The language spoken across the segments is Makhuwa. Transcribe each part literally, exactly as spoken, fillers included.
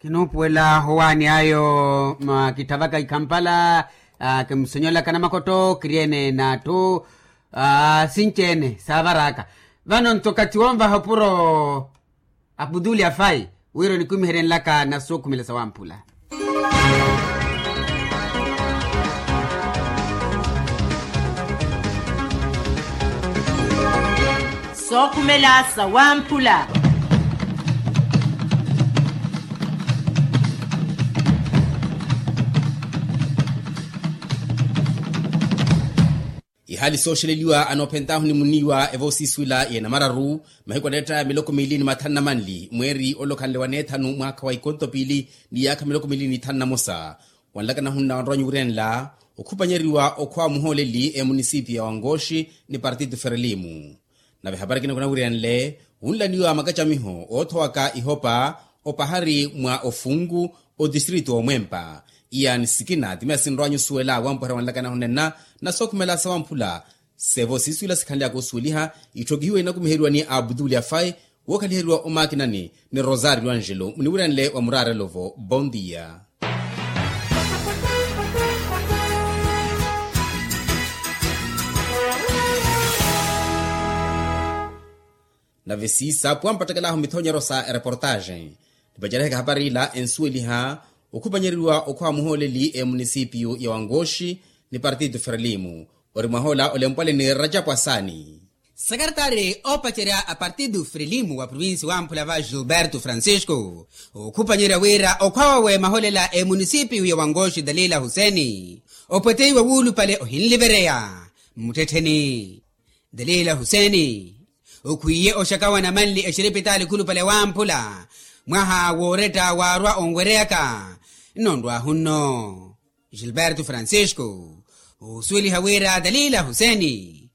Kinuupuwela owaani ayo. Kitthavaka ikhampala, kimusonyolaka namakotto kiriene n'atthu sinci-ene saavaraka. Vano nto okathi wonvaha opuro aputuli afayi wira onikumiheryenlaka na sookhumela sawamphula. Sookhumela sawamphula. Ihaali sooxeleliwa anoophentahu ni muniiwa evoosiiswila ya namararu, mahiku aneetta miloko miili ni mathanu na manli mweeri ole okhanle wa neethanu mwaakha wa ikonto piili ni yaakha miloko miili ni ithanu na mosa. Wanlaka nahunna wanrowa nyuuri enla okhupanyeriwa okhwa muhooleli emunisipiyu ya wankooxi ni partito ferelimu. Nave ehapari ekina kunawiryanle wunlaniwa makacamiho oothowaka ihopa opahari mwa ofunku otistrito omwempa. Iyaani sikina ti miya sinrowanyu osuwela wampuherya wanlaka nahunenna na sookhumela sawamphula. Sevo siisuwela sikhanlyaka osuweliha itthokihiwe inakumiheriwa ni aputuli afayi wookhaliheriwa omakinani ni rosario angelo muniwiryanle wa muraarelo-vo bondia. Nave siisa pwampattakelaho mithonyero sa ereportaxe. Nipacereheke hapari ila ensuweliha okhupanyeriwa okhwa muhooleli emunisipiyu ya wankooxi ni partito ferelimu ori mwahoola olempwale ni rajapu asaani. Sakaritari oopacerya a partido frelimo wa provincia wamphula va gilberto francisco okhupanyerya wira okhwa wawe maholela emunisipiyu ya wankooxi dalila huseni opweteiwa wuulupale ohinlivereya mmuttettheni. Dalila huseni okhwiiye oxakawa namanli exiripitaali khulupale wamphula mwaha wooretta waarwa onwereyaka. Nno nrwaahu nno gilberto francisco oosuweliha wira dalila huseni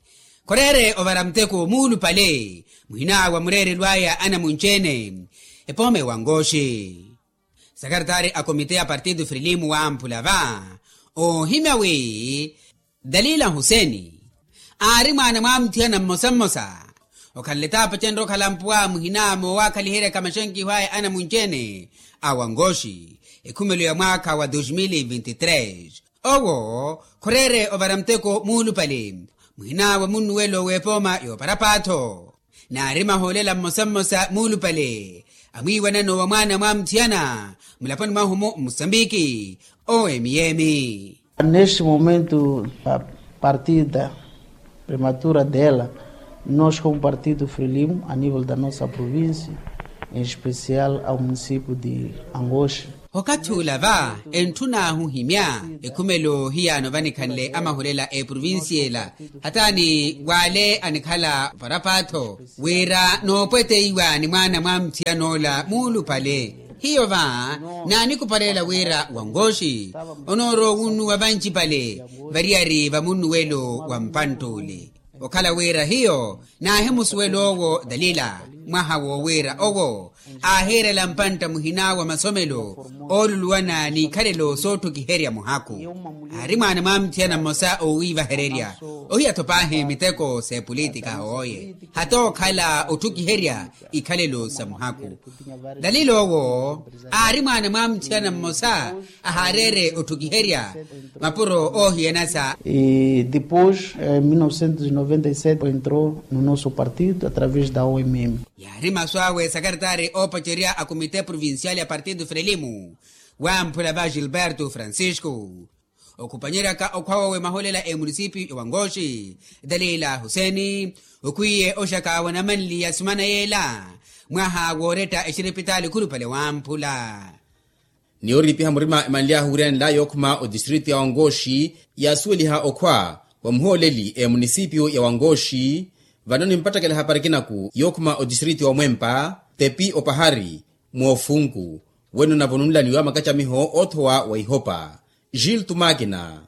khoreere ovara muteko muulupale muhina wa mureerelo aya anamunci-ene epooma ewankooxi. Sakaritari a komite ya partido frelimo wamphula va oohimya wi dalila huseni aari mwaana mwa muthiyana mmosa mmosa okhanle taapacenre okhala mpuwa muhina moowakhaliheryaka maxenkiho aya anamunci-ene a wankooxi ekhumelo ya mwaakha wa dos mil e vinte e tres. Owo khoreere ovara muteko muulupale muhina wa munnuwelo w'epooma y'oparapatho naari mahoolela mmosa mmosa muulupale amwiiwanano wa mwaana mwa muthiyana mulaponi mwahu-mu mmusambiki owo emiyemi. Neste momento a partida prematura dela nos como partido frelimo a nível da nossa província em especial ao município de angoxe. Okathi ula va entthun'ahu ohimya ekhumelo hiyaano vanikhanle amahulela eprovincia ela hataani w'ale anikhala varapatho wira noopweteiwa ni mwaana mwa muthiyan'ola muulupale hiyo va naanikupalela wira wankooxi onoorowa owunnuwa vancipale variyari va munnuwelo wa mpantt'ule okhala wira hiyo naahimusuwela owo dalila mwaha woowiira owo aahiirela mpantta muhina wa masomelo ooluluwana n'ikhalelo sootthukiherya muhaku aari mwaana mwa muthiyana mmosa oowiivahererya ohiya-tho paahi miteko s'epolitika hooye hata okhala otthukiherya ikhalelo sa muhaku dalila owo aari mwaana mwa muthiyana mmosa ahaareere otthukiherya mapuro oohiyanasa. E depois em mil novecentos e noventa e sete entrou no nosso partido através da omm. Yaari masu awe sakaritari oopacerya a komite provincial ya partido frelimo wamphula va gilberto francisco okhupanyeryaka okhwa wawe maholela emunisipiyu ya wankooxi dalila huseni okhwiiye oxaka wa namanli ya sumana yeela mwaha wooretta exiripitaali khulupale wamphula. Ni yooriipiha murima emanly'ahu wiryanela yookhuma otistritu ya wankooxi yaasuweliha okhwa wa muhooleli emunisipiyu ya wankooxi vano nimpattakela ehapari ekinaku yookhuma otistritu ya omwempa tepi opahari moofunku weno navo nunlaniwa makacamiho oothowa wa ihopa gil tumakina.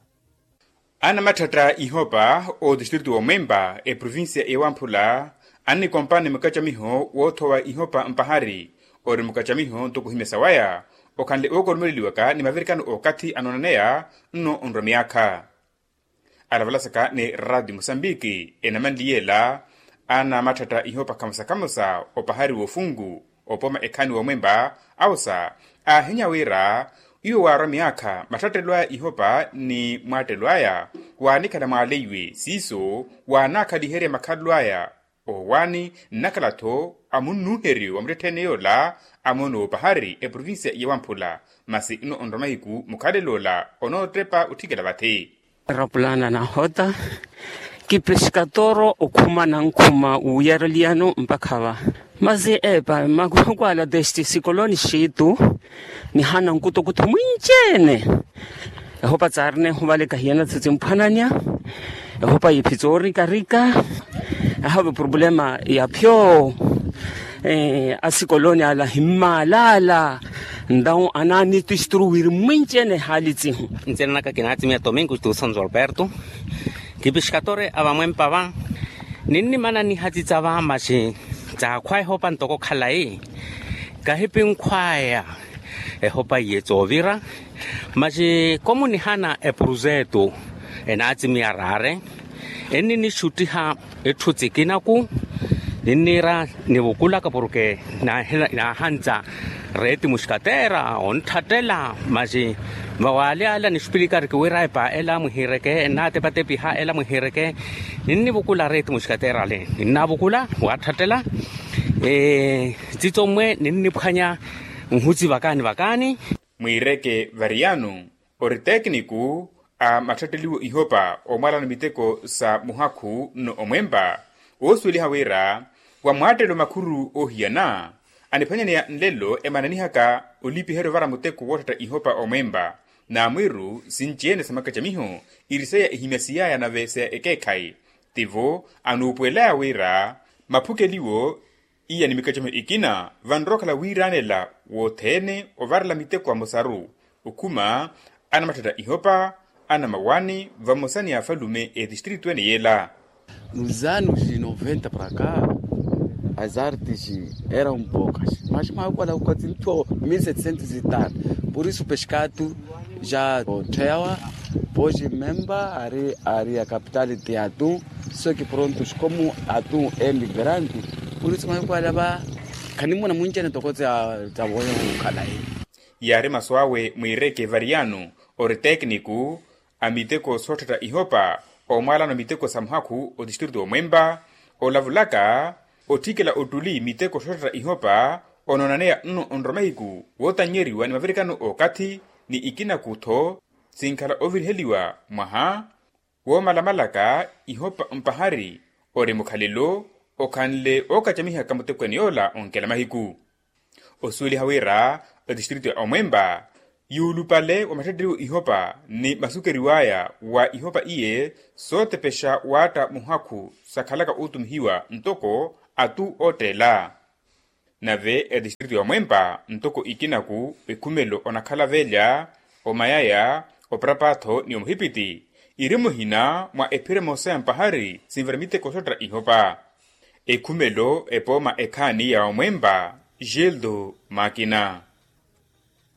Anamatthetta ihopa otistritu womwempa eprovincia ewamphula annikompani mukacamiho woothowa ihopa mpahari ori mukacamiho ntoko ohimya sawaya okhanle ookoromeleliwaka ni mavirikano okathi anoonaneya nno onrwa miyaakha. Alavalasaka ni raati musambiki enamanliyela anamatthetta ihopa khamosa khamosa opahari woofunku opoma ekhaani womwempa, awosa aahinya wira iwo waarwa miyaakha mattattelwaya ihopa ni mwaattelwaya waanikhala mwaaleiwe siiso waanaakhaliherya makhalelwaya. Owaani nnakhala-tho amunnuuheryo wa muttettheene yoola amoona opahari eprovincia ya wamphula. Masi nno onrwa mahiku mukhalel'ola onoottepa otthikela vathi. Rapulana nahota kipeskatoro okhuma nankhuma wuyareliyano mpakha va. Masi epa makukwala desti sikoloni xitu nihana nkutokuto mwinci-ene. Ehopa tsaarina ehuvaleka hiyana tsitsimphwananya. Ehopa yiiphi tsoorikarika. Ahave problema ya phyo. Asikoloni ala himmaalala. Ntawu anaani tisturu wiri mwinci-ene ehaali tsihu. Ntsina naka kinaatimiya tomingo tuusanzo alberto. Kipixkatore a vamwempa va. Ninnimana nihatitsa va maxi tsaakhwa ehopa ntoko khalayi. Kahipinkhwaya ehopa iye tsoovira. Maxi komunihana epurusetu enaatimiya raare. Enninixuttiha etthu tsikinaku. Ninniira nivukulaka porke naahantsa reeti muxkateera ontthattela. Maxi vawaali ala nixupilika arikiwira epa ela mwihiireke ennaatepatepiha ela mwihiireke. Ninnivukula reeti muxkateera ale ninnaavukula waatthattela. Tsitsommwe ninniphwanya nhuti vakaani vakaani. Mwiireke variyano ori tekiniku a matthatteliwo ihopa omwalano miteko sa muhakhu nno omwempa. Oosuweliha wira wa mwaattelo makhuru oohiyana aniphwanyaneya nlelo emananihaka olipiherya ovara muteko wootthatta ihopa omwempa. Naamwiru sinci-ene sa makacamiho iri seya ehimyasiyaya nave seya ekeekhayi. Tivo anuupuwelaya wira maphukeliwo iya ni mikacamiho ikina vanrowa okhala wiiraanela wothene ovarela miteko amosaru. Okhuma ana matthatta ihopa ana mawaani vamosa ni afalume etistritu ene yeela. Nos anos de noventa para cá as artes eram poucas mas makukwala kukatsi ntho mil setecentos e tal. Por isso peskatu ja otthewa poji memba ari ari a capital de atu. Só que prontos como atu emigrante por isso makukwala va khanimuna mwinci-ene toko tsa tsa voya khukhala. Yaari masu awe mwiireke variyano ori tekiniku a miteko sootthatta ihopa omwalano miteko sa muhakhu otistritu omwempa. Olavulaka otthikela ottuli miteko sootthatta ihopa onoonaneya nno onrwa mahiku wootannyeriwa ni mavirikano ookathi ni ikinaku-tho sinkhala oviriheliwa mwaha woomalamalaka ihopa mpahari ori mukhalelo okhanle ookacamihaka mutekweene yoola onkela mahiku. Osuweliha wira etistritu ya omwempa yuulupale wa matthatteliwo ihopa ni masukeriw'aya wa ihopa iye sootepexa waatta muhakhu sakhalaka ootumihiwa ntoko atu ootteela. Nave etistritu ya omwempa ntoko ikinaku ekhumelo onakhala velya omayaya oparapatho ni omuhipiti iri muhina mwa ephira emosa ya mpahari sinvara miteko soottera ihopa. Ekhumelo epooma ekhaani ya omwempa gildo makina.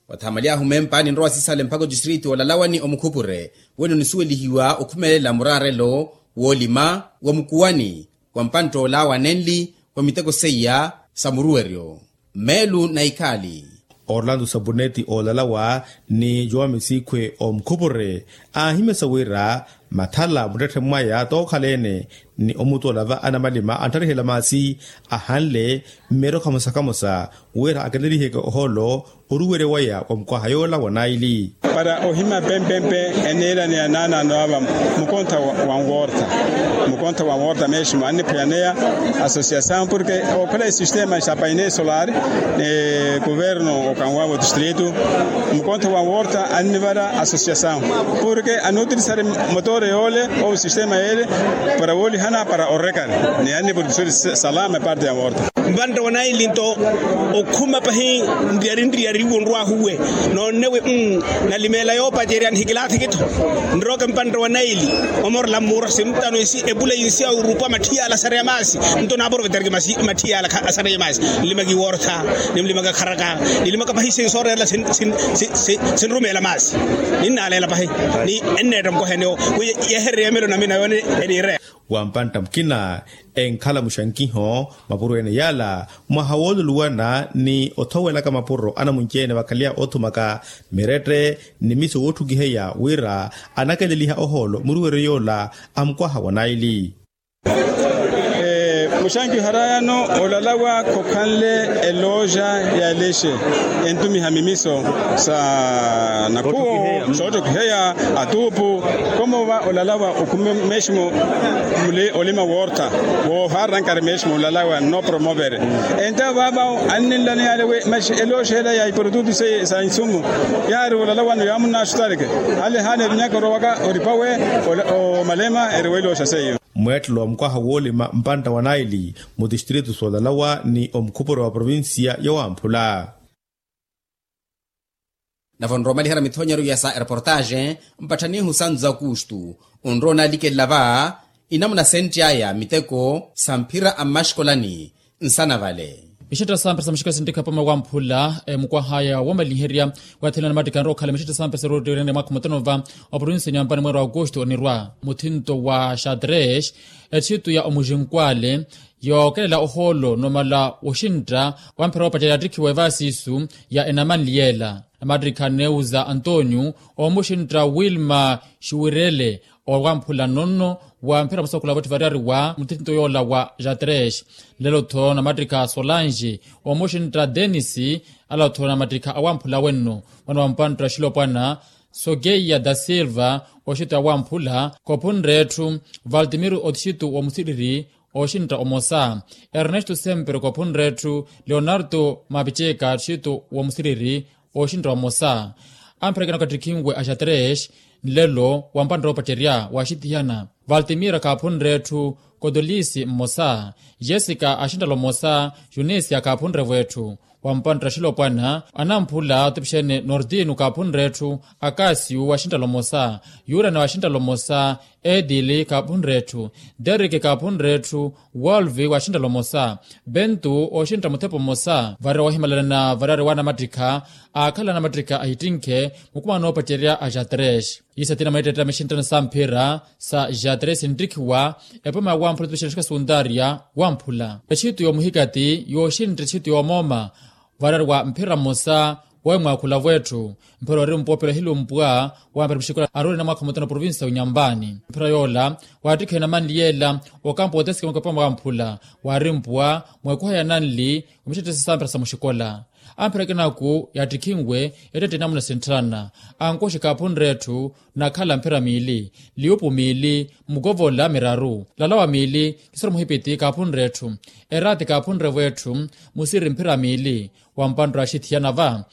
Wathamalyahu mempa ninrowa sisale mpakha otistritu olalawani omukhupure wene onisuwelihiwa okhumelela muraarelo woolima wa mukuwani wa mpantta olawa nenli wa miteko seiya sa muruweryo. Meelu na ikhaali orlando sabuneti oolalawa ni jowa misikhwe omukhupure aahimyasa wira mathala muttetthe mwaya tookhala-ene ni omutoola va anamalima anttarihela maasi ahanle mmeerokha musakamusa wira akeneliheke ohoolo oruwerya waya wa mukwaha yoola wa naili. Para ohima pempempe eneela ni anaanaano ava mukontha wa nworta mukontha wa nworta meeshimo anniphwayaneya asosiasawu porke okhola esistema sa paine solar ni kuverno okanwavo distritu mukontha wa nworta annivara asosiasawu porke anutilisari motore yoole ou sistema yeele para woolihana para orekari ni annivolikisori salama eparte ya nworta. Mpantta wa naili nto okhuma pahi nriyari nriyari iwo nrwahuwe noonnewe. Nalimeela yoopacerya nihikilaathiki-tho nroke mpantta wa naili omorela mmuura sintano isi epula insi ya orupa matthi yaala asareya maasi. Nto naaprovetariki matthi yaala asareya maasi nlimaka iwortha nimlimaka kharaka nilimaka pahi sinsoorerela sinrumeela maasi ninnaaleela pahi ni enneetta mukohenewo wi yehererya emelo namina yoone eniireya. Wa mpantta mukina enkhala muxankiho mapuro ene yaala mwaha wooluluwana ni othowelaka mapuro anamunci-ene vakhaleya othumaka mirette ni miso wootthukiheya wira anakeleliha ohoolo muruweryo yoola a mukwaha wa naili. Muxankiho harayano olalawa khokhanle elooja ya elexe entumiha mimiso sa nakhuwo sootthokiheya atuupu. Komo va olalawa okhume meximu muli olima woortha woohaarana nkari meximu olalawa nno promovere. Enta vava anninlani yale we maxi elooxela ya iprodutu seye sa insumu yaari olalawano yaamunna axutareke ale haana evinyaka orowaka oripawe omalema eriwa elooxa seiyo. Mweettelo wa mukwaha woolima mpantta wa naili mu tistritu soolalawa ni omukhupuro wa provincia ya wamphula. Nave onrowa omaliherya mithonyeru ya sa ereportaxe mpatthanihu santu za kustu onrowa onalikelela va inamuna sentti aya miteko sa mphira a mmaxikolani nsana vale. Ixetta sampesa muxikola sintikha pama wamphula mukwaha aya womaliherya wathela namattikha anrowa okhala mixetta sampesa roottiwirene mwaakha mutano va oprovinsi nyambani mweeri wa aukustu onirwa muthinto wa xatres ethitu ya omuxinkwale yookelela ohoolo numala woxintta wamphira woopacerya yattikhiwa evaasiisu ya enamanli yeela namattikha neuza antonio omuxintta wilma xuwirele owamphula nonno wa mphira musakhula votthu variyari wa muthinto yoola wa jatres. Lelo-tho namattikha solange omuxintta denis ala-tho namattikha awamphula wenno mwana wa mpantta axilopwana sokeia da silva oxintta awamphula koophunre etthu valtimiro oxintta omusiriri oxintta omosa ernesto sempre koophunre etthu leonardo mapiceka oxintta omusiriri oxintta omosa. Amphirakena okattikhinwe a xatres nlelo wa mpantta oopacerya waxithiyana valtimira kaaphunre etthu kotolisi mmosa jessica axinttala omosa junisia kaaphunre-vo etthu wa mpantta axilopwana anamphula atupixene nordino kaaphunre etthu akasiu axinttala omosa yurana waxinttala omosa edili kaaphunre etthu deriki kaaphunre etthu wolvi waxinttala omosa bentu oxintta muthepa omosa varira wohimalalana variyari wa anamattikha aakhala anamattikha ahittinkhe mukumana noopacerya a xatres. Iisa ti namwetteetta mixinttano sa mphira sa jatres nttikhiwa epoma ya wamphula etupixene exikola suntaria wamphula etxitu yoomuhikati yooxintta etxitu yoomooma variyari wa mphira mmosa wowe mwaakhula-vo etthu mphira ori mpuwa pelo hilumpwa wamphira muxikola aroorina mwaakha mutano provinsi ya unyambani mphira yoola waattikhiwa enamanli yeela okampo otesikemaka epoma wamphula waari mpuwa mweekuha ya nanli omixettesa sa mphira sa muxikola. Amphira akinaku yaattikhinwe ettette inamuna sintthana ankoxi kaaphunre etthu nakhala mphira miili liupu miili mukovola miraru lalawa miili kisoro muhipiti kaaphunre etthu eraati kaaphunre-vo etthu musiri mphira miili wa mpanttwe axithiyana va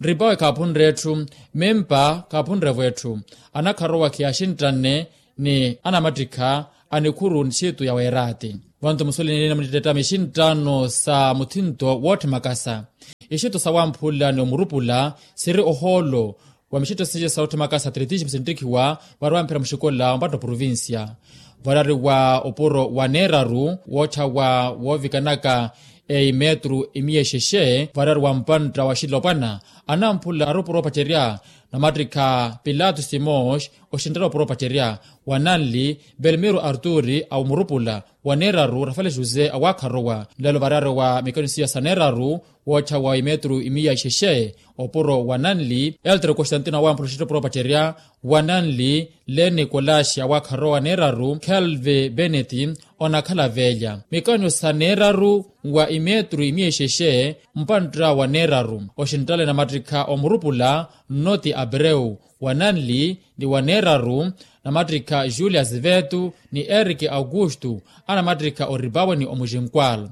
ripawe kaaphunre etthu mimpa kaaphunre-vo etthu anakharowa khiyaaxinttanne ni anamattikha a nikhuru nxiitu ya weeraati. Vantu musulinini namunittettami xinttano sa muthinto wootthi makasa ixitto sa wamphula ni omurupula siri ohoolo wa mixitto siya sa wootthimakasa atletismo sinttikhiwa vaari wamphira muxikola wa mpatto provincia variyari wa opuro wa neeraru wootthawa woovikanaka eimetru imiya ixexe variyari wa mpantta wa xilopwana anamphula ari opuro opacerya namattikha pilato simos oxinttala opuro opacerya wa nanli belmiro arturi a omurupula wa neeraru rafale jose awaakharowa nlelo variyari wa mikanisiya sa neeraru wootthawa imetru imiya ixexe opuro wa nanli eltre constantino awaamphula oxinttala opuro opacerya wa nanli leni kolaxi awaakharowa neeraru kelve beneti onakhala veelya mikanyo sa neeraru wa imetru imiya ixexe mpantta wa neeraru oxinttale namattikha omurupula nnoti abreu wa nanli ni wa neeraru namattikha julius vetu ni erike aukustu anamattikha oripawe ni omuxinkwal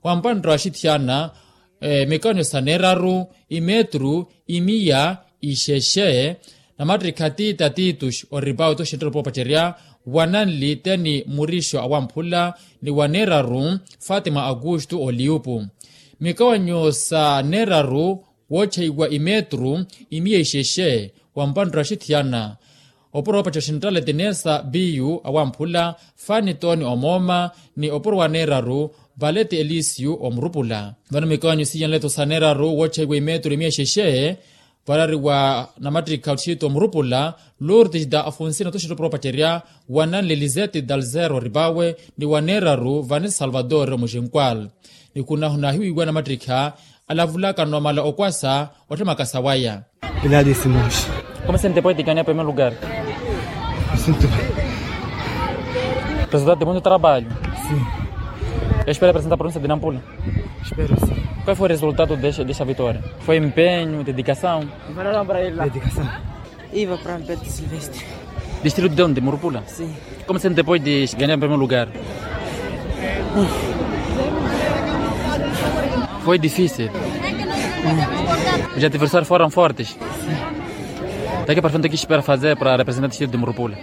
wa mpantta waxithiyana mikanyo sa neeraru imetru imiya ixexe namattikha tita titus oripawe ti oxinttala opuro opacerya wa nanli teni murixo awamphula ni wa neeraru fatima aukustu oliupu mikawanyo sa neeraru woocheiwa imetru imiya ixexe wa mpanttwe axithiyana opuro woopacerya oxinttale tinesa biyu awamphula fani toni omooma ni opuro wa neeraru valeti elisiyu omurupula vano mikawanyo siyanleto sa neeraru woocheiwa imetru imiya ixexe Varari wa namattikha othito murupula, lourdes da afonsin otoxetto propaterya, wa nanle lisette dalzero ripawe, ni wa neeraru vanessa salvador mujinkwal. Ni khunahuna ahiwiiwa namattikha alavulaka nnomala okwasa otthemakasa waya. Pilato simões. Como se te pode ganhar primeiro lugar? Sinto bem. Resultado de muito trabalho. Sim. Espera apresentar a província de nampula. Espero sim. Qual foi o resultado desta vitória? Foi empenho, dedicação? Dedicação. Iva para Alberto Silvestre. Distrito de onde? Murupula? Sim. Como se te pode ganhar em primeiro lugar? Foi difícil. Os adversários foram fortes. Daqui para frente o que espera fazer para representar o distrito de Murupula?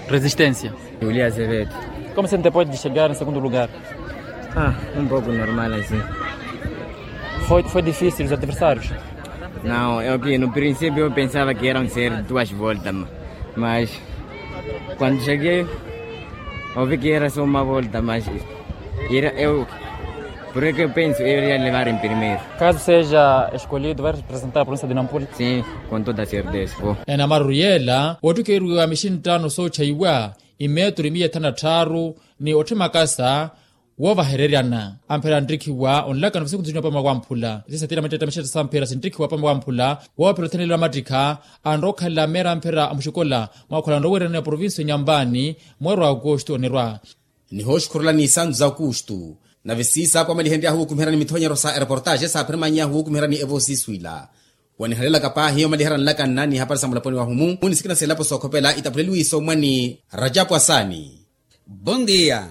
Resistência. Julia Azevedo. Como se te pode chegar em segundo lugar? Ah, um pouco normal assim. Foi, foi difícil os adversários? Não, eu que no princípio eu pensava que iam ser duas voltas, ma- mas quando cheguei, ouvi que era só uma volta, mas era eu, por isso que eu penso, eu iria levar em primeiro. Caso seja escolhido, vai representar a província de Nampula? Sim, com toda certeza, vou. Enamaruru yeela wottukeriwa mixinttano sootthayiwa, imetru imiya ethanu na tthaaru, ni otthimakasa woovahereryana. Amphera anttikhiwa onlakana vasikuntu sinyu apama wamphula sisatira mattettamaxetta samphera sinttikhiwa apama wamphula. Woophera othenelelo amattikha anrowa okhalela meera amphera amuxikola mwaakhola nrowererani ya provincia nyambani. Mweeri wa aukustu onirwa. Nihooxukhurulani isantu za aukustu. Nave siisa kwamalihenryahu wukumiherani mithonyeryo sa ereportaxe saaphira manyahu wukumiherani evosi iswila. Wanihalelaka paahi omaliherani nlakanna ni hapari sa mulaponi wahu-mu ni sikina selapo sookhopela itapuleliwe isommwa ni rajapu asani. Bondia.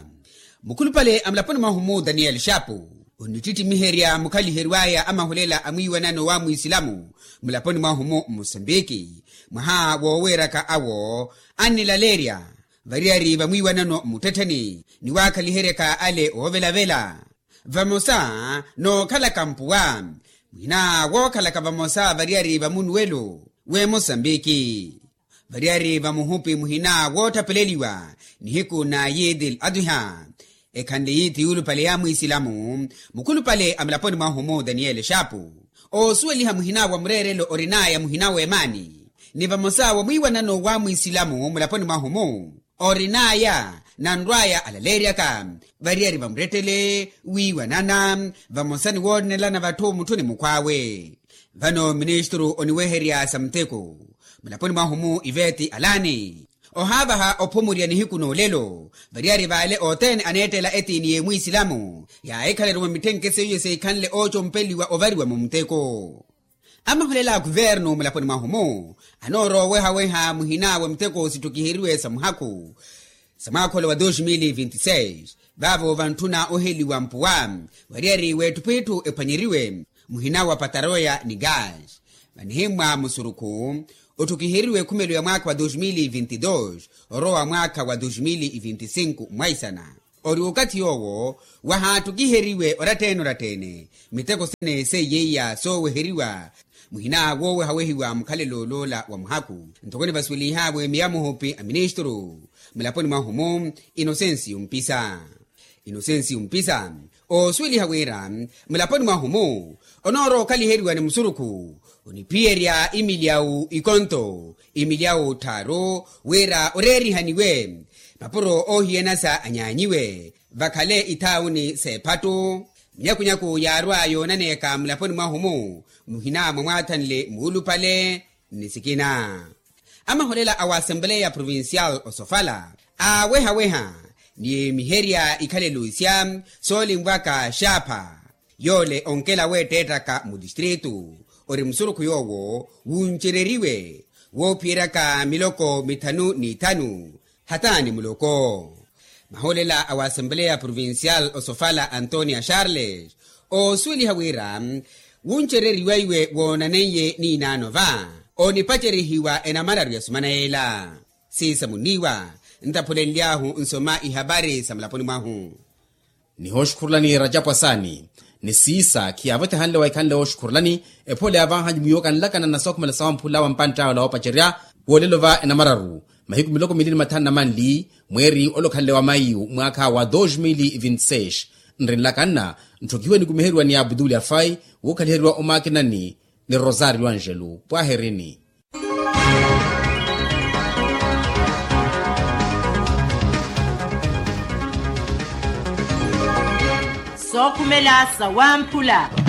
Mukhulupale a mulaponi mwahu-mu daniyeli xapu onittitimiherya mukhaliheriwaya a mahulela a mwiiwanano wa mwisilamu mulaponi mwahu-mu mmusambiki. Mwaha wooweeraka awo annilaleerya variyari va mwiiwanano mmuttettheni ni waakhaliheryaka ale oovelavela vamosa nookhalaka mpuwa muhina wookhalaka vamosa variyari va munuwelo w'emosambiki. Variyari va muhupi muhina woottapeleliwa nihiku na yidil adwiha ekhanle yiithi yuulupale ya mwisilamu. Mukhulupale a mulaponi mwahu-mu daniyeli xapu oosuweliha muhina wa mureerelo orinaya muhina w'emaani ni vamosa wa mwiiwanano wa mwisilamu mulaponi mwahu-mu orinaya nanrwaya alaleeryaka variyari vamuttettele wiiwanana vamosa ni woonelana vatthu mutthu ni mukhw'awe. Vano ministru oniweherya sa muteko mulaponi mwahu-mu iveti alani ohaavaha ophumurya nihiku n'olelo variyari vale othene aneettela etiini y'emwisilamu yaahikhaleriwa mitthenke seiyo seikhanle oocompeliwa ovariwa mumuteko. Amahulela a kuvernu mulaponi mwahu-mu anoorowa owehaweha muhina wa miteko sittukiheriwe sa muhaku sa mwaakhola wa dos mil vinti seis vaavo vantthuna oheliwa mpuwa variyari w'ettupwitthu ephwanyeriwe muhina wa pataroya ni gas vanihimmwa musurukhu ottukiheriwe ekhumelo ya mwaakha wa dos mil vinti dos orowa mwaakha wa dos mil vinti sinku mwaisana. Ori okathi yoowo wahaattukiheriwe orattene orattene miteko sene seiyeiya sooweheriwa muhina woowehawehiwa mukhalelo oloola wa muhaku. Nthokoni vasuwelihawe miya muhupi a ministru mulaponi mwahu-mu inosensi yumpisa inosensi yumpisa oosuweliha wira mulaponi mwahu-mu onoorowa okhaliheriwa ni musurukhu oniphiyerya imilyawu ikonto imilyawu tthaaru wira oreerihaniwe mapuro oohiyanasa anyaanyiwe vakhale ithaawuni s'ephattu. Minyakunyaku yaarwa yoonaneeka mulaponi mwahu-mu muhina mwa mwaathanle muulupale ni sikina. Amaholela a wa asempleya provincial osofala aawehaweha ni miherya ikhalelo isya soolinvwaka xaapha yoole onkela weetteettaka mutistritu ori musurukhu yoowo wuncereriwe woophiyeryaka miloko mithanu n'ithanu hata ni muloko. Maholela a wa asempleya provincial osofala antonia charles oosuweliha wira wuncereriwaiwe woonaneiye n'inaano va onipacerihiwa enamararu ya sumana yeela siisamuniwa ntaphulenly'ahu nsoma ihapari sa mulaponi mwahu. Nihooxukhurulani rajapu asaani ni siisa khiyaavotehanle waikhanle wooxukhurulani ephole yaavanhanyu mwiiwoka nlakana na sookhumela sawamphula wa mpantta awe la woopacerya woolelo va enamararu mahiku miloko mili ni mathanu na manli mweeri olokhanle wa mayu mwaakha wa dos mil vinti seis. Nri nlakanna ntthokihiwe nikumiheriwa ni abdul afai wookhaliheriwa omaakinani ni rosario angelo pwahirini. Sookhumela sawamphula.